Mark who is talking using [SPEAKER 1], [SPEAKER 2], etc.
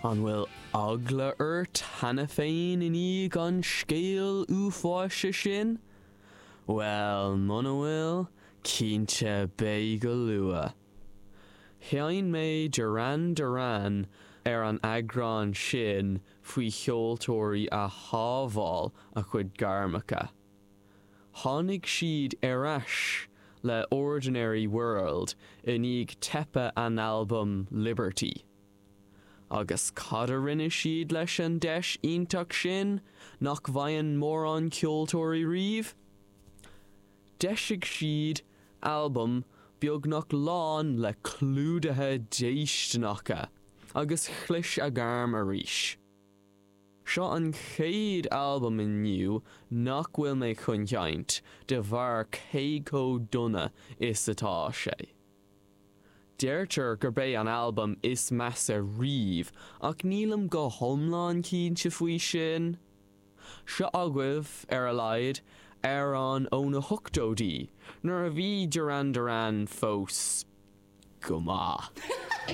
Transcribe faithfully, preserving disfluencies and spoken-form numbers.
[SPEAKER 1] An bhfuil eagla ort cheana féin i ndiaidh an scéal uafáis sin? Well muna bhfuil, cinnte beidh go luath. Sheinn mé Duran Duran ar an eagrán sin faoi cheoltóirí a shábháil a chuid gairmeacha. Tháinig siad ar ais le Ordinary World i ndiaidh teipe an albam Liberty. Agus cad a rinne siad leis an deis iontach sin nach bhfaigheann mórán ceoltóirí riamh? D'eisigh siad albam beagnach lán le clúdaithe déistineacha agus chlis a ngairm arís. Seo an chéad albam inniu nach bhfuil mé chun seinnt de bharr cé chomh dona is atá sé. Deirtear gurb é an albam is measa riamh ach nílim go hiomlán cinnte faoi sin. Seo agaibh ar a laghad amhrán ó na hochtóidí nuair a bhí Duran Duran fós go maith.